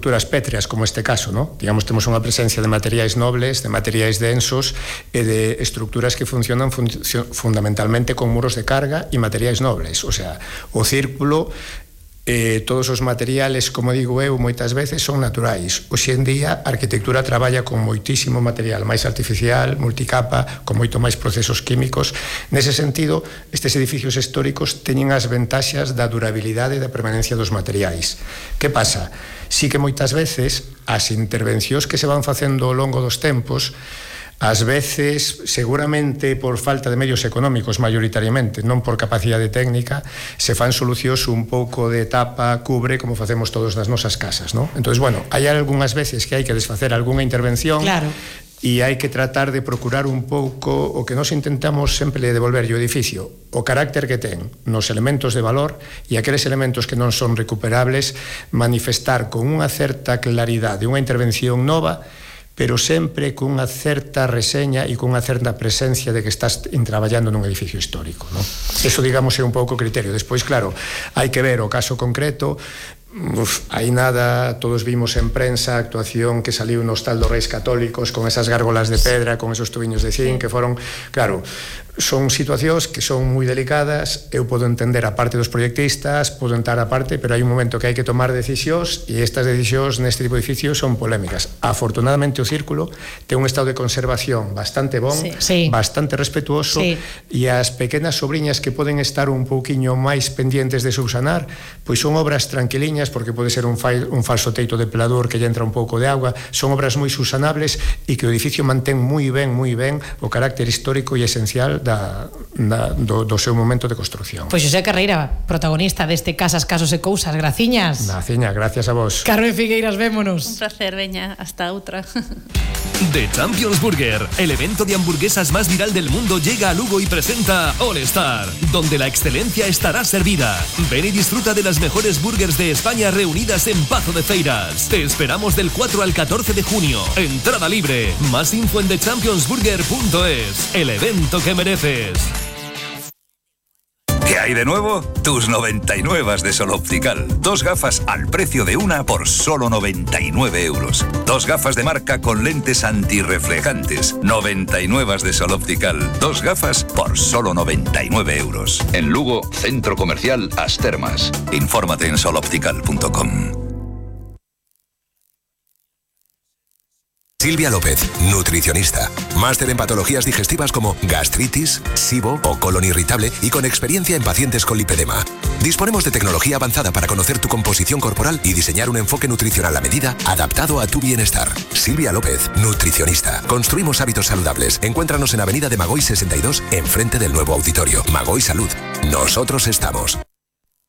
estructuras pétreas, como este caso, ¿no? Digamos, temos unha presencia de materiais nobles, de materiais densos e de estructuras que funcionan fundamentalmente con muros de carga e materiais nobles. O sea, o círculo, todos os materiales, como digo eu, moitas veces son naturais. Hoxe en día a arquitectura traballa con moitísimo material máis artificial, multicapa, con moito máis procesos químicos. Nese sentido, estes edificios históricos teñen as ventaxas da durabilidade e da permanencia dos materiais. Que pasa? Sí que moitas veces as intervencións que se van facendo ao longo dos tempos, ás veces, seguramente por falta de medios económicos maioritariamente, non por capacidade técnica, se fan solucións un pouco de tapa, cubre, como facemos todos nas nosas casas, non? Entón, bueno, hai algunhas veces que hai que desfacer algunha intervención, claro, e hai que tratar de procurar un pouco o que nos intentamos sempre devolverlle o edificio, o carácter que ten nos elementos de valor, e aqueles elementos que non son recuperables, manifestar con unha certa claridade unha intervención nova, pero sempre cunha certa reseña e cunha certa presencia de que estás traballando nun edificio histórico, non? Eso, digamos, é un pouco o criterio. Despois, claro, hai que ver o caso concreto. Hai nada, todos vimos en prensa a actuación que saliu no Hostal dos Reis Católicos con esas gárgolas de pedra, con esos tubiños de zinc, que foron, claro, son situacións que son moi delicadas. Eu podo entender a parte dos proyectistas, podo entrar a parte, pero hai un momento que hai que tomar decisións, e estas decisións neste tipo de edificios son polémicas. Afortunadamente o círculo ten un estado de conservación bastante bon, bastante respetuoso, e as pequenas sobriñas que poden estar un pouquiño máis pendientes de subsanar, pois son obras tranquiliñas, porque pode ser un falso teito de pelador que lle entra un pouco de agua. Son obras moi subsanables e que o edificio mantén moi ben o carácter histórico e esencial do seu momento de construcción. Pois Xosé Carreira, protagonista deste Casas, Casos e Cousas. Graciñas. Graciñas, gracias a vos. Carmen Figueiras, vémonos. Un placer, veña, hasta outra. The Champions Burger, el evento de hamburguesas más viral del mundo, llega a Lugo y presenta All Star, donde la excelencia estará servida. Ven y disfruta de las mejores burgers de España reunidas en Pazo de Feiras. Te esperamos del 4 al 14 de junio. Entrada libre. Más info en thechampionsburger.es. El evento que mereces. ¿Qué hay de nuevo? Tus 99 de Sol Optical. 2 gafas al precio de una por solo 99 euros. 2 gafas de marca con lentes antirreflejantes. 99 de Sol Optical. 2 gafas por solo 99 euros. En Lugo, Centro Comercial As Termas. Infórmate en soloptical.com. Silvia López, nutricionista. Máster en patologías digestivas como gastritis, SIBO o colon irritable y con experiencia en pacientes con lipedema. Disponemos de tecnología avanzada para conocer tu composición corporal y diseñar un enfoque nutricional a medida adaptado a tu bienestar. Silvia López, nutricionista. Construimos hábitos saludables. Encuéntranos en Avenida de Magoy 62, enfrente del nuevo auditorio. Magoy Salud. Nosotros estamos.